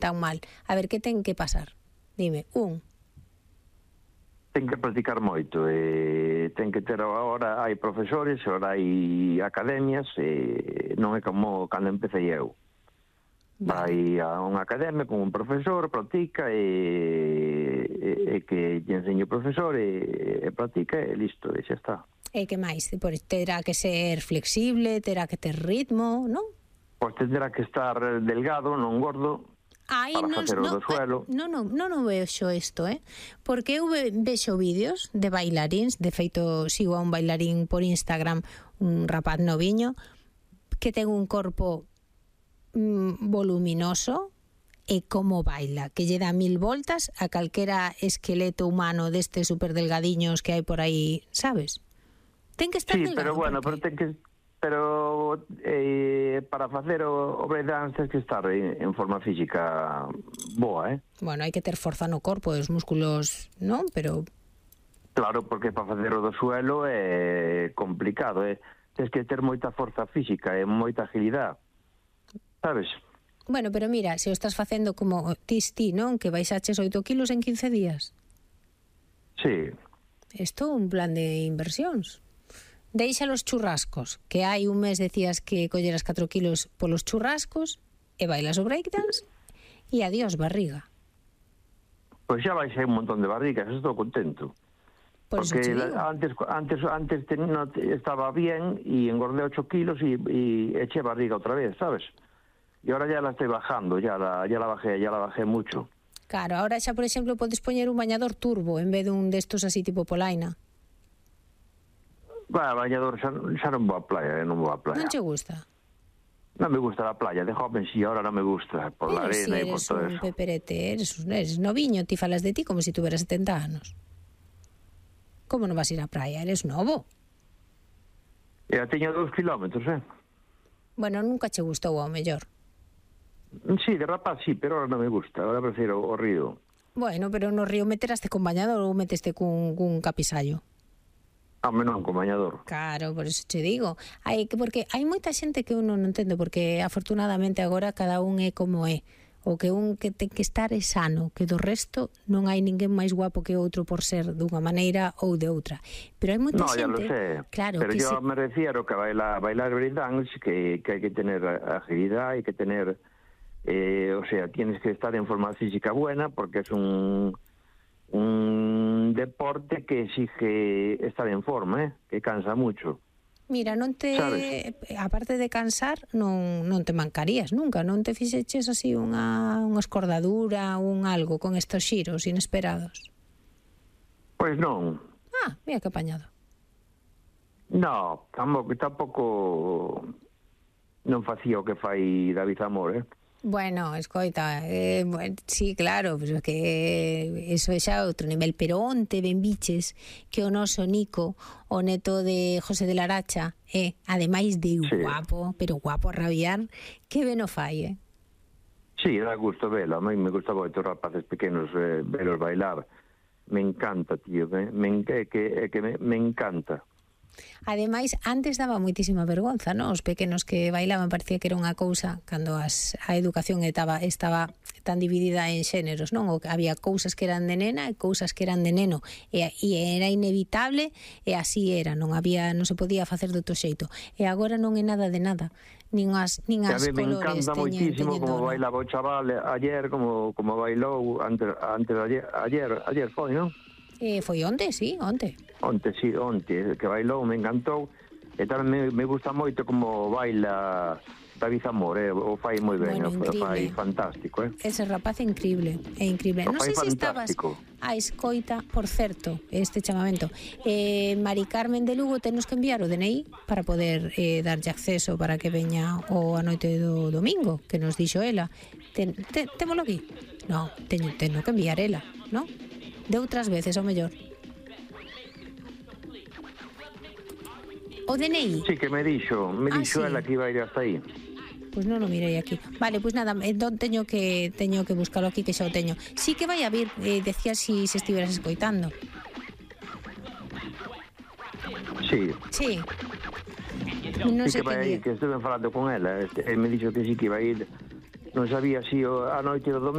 tan mal. A ver, que ten que pasar? Dime, Ten que practicar moito, ten que ter agora, hai profesores, agora hai academias, non é como cando empecé eu. Vai a unha academia con un profesor, practica e que lle enseñe o profesor e practica e listo, e xa está. E que máis? Terá que ser flexible, terá que ter ritmo, non? Pois tendrá que estar delgado, non gordo, para facer o do suelo. Non vexo isto, porque eu vexo vídeos de bailaríns, de feito sigo a un bailarín por Instagram, un rapaz noviño, que ten un corpo voluminoso e como baila, que lle dá 1000 voltas a calquera esqueleto humano destes super delgadiños que hai por aí, sabes? Ten que estar delgado. Pero bueno, pero para facer o breakdance tens que estar en forma física boa, Bueno, hai que ter forza no corpo, os músculos, non? Pero claro, porque para facer o do suelo é complicado, tens que ter moita forza física e moita agilidade, sabes? Bueno, pero mira, se o estás facendo como ti, non? Que baixaches 8 kilos en 15 días. Sí. Isto é un plan de inversións. Deixa los churrascos, que hai un mes decías que colleras 4 kilos polos churrascos e bailas o breakdance e adiós barriga. Pois xa baixei un montón de barrigas, estou contento. Porque antes estaba bien e engordé 8 kilos e eché barriga outra vez, sabes? E ahora ya la estoy bajando, ya la bajé mucho. Claro, ahora xa, por exemplo, podes poñer un bañador turbo en vez dun destos así tipo polaina. Bañador, xa non vou a playa, Non che gusta? Non me gusta la playa, de joven sí, ahora non me gusta, por la arena e por todo eso. Eres un peperete, eres noviño, ti falas de ti como se tuveras 70 anos. Como non vas a ir á praia? Eres novo. Teño 2 kilómetros, Bueno, nunca che gustou ao mellor. Sí, de rapaz sí, pero ahora non me gusta, ahora prefiro o río. Bueno, pero no río meteraste con bañador ou meteste cun capisallo? Non, con bañador. Claro, por eso te digo. Porque hai moita xente que uno non entende, porque afortunadamente agora cada un é como é. O que un que ten que estar é sano, que do resto non hai ninguén máis guapo que outro por ser dunha maneira ou de outra. Pero hai moita xente... No, ya lo sé. Claro, pero yo me refiero que bailar breakdance, que hai que tener agilidad, hai que tener... o sea, tienes que estar en forma física buena, porque es un deporte que exige estar en forma, que cansa mucho. Mira, ¿sabes? Aparte de cansar, non te mancarías nunca, non te fixeches así unha escordadura, un algo con estos xiros inesperados? Pois non. Mira que apañado. No, tampouco non facía o que fai David Zamor, Bueno, escoita, sí, claro, pero que eso é xa outro nivel. Pero onte ben biches que o noso Nico, o neto de José de Laracha, ademais de guapo, pero guapo a rabiar, que ben o fai, Sí, dá gusto velo. A mí me gusta moito os rapaces pequenos velos bailar. Me encanta, tío, me encanta. Ademais, antes daba moitísima vergonza, non? Os pequenos que bailaban parecía que era unha cousa, cando a educación estaba tan dividida en xéneros, non? Había cousas que eran de nena e cousas que eran de neno, e era inevitable, e así era, non se podía facer de outro xeito. E agora non é nada de nada, nin as colores. A mí me encanta moitísimo como bailaba o chaval ayer, como bailou antes de ayer foi, non? Foi onte, sí, onte. Onte, que bailou, me encantou. E tamén me gusta moito como baila David Zamor, o fai moi ben, o fai fantástico, Ese rapaz é increíble, Non sei se estabas a escoita, por certo, este chamamento. Mari Carmen de Lugo tenos que enviar o DNI para poder darlle acceso para que veña a noite do domingo, que nos dixo ela. Témolo aquí? Non, teño que enviar ela, non? De outras veces, ao mellor. O DNI. Sí, que me dixo ela que iba a ir hasta aí. Pois non o mirei aquí. Vale, pois nada, entón teño que buscalo aquí, que xa o teño. Sí que vai a vir, decía si se estiveras escoitando. Sí. Sí. Non sei que vai a ir, que estuve falando con ela, me dixo que sí que iba a ir non sabía si a noite do domingo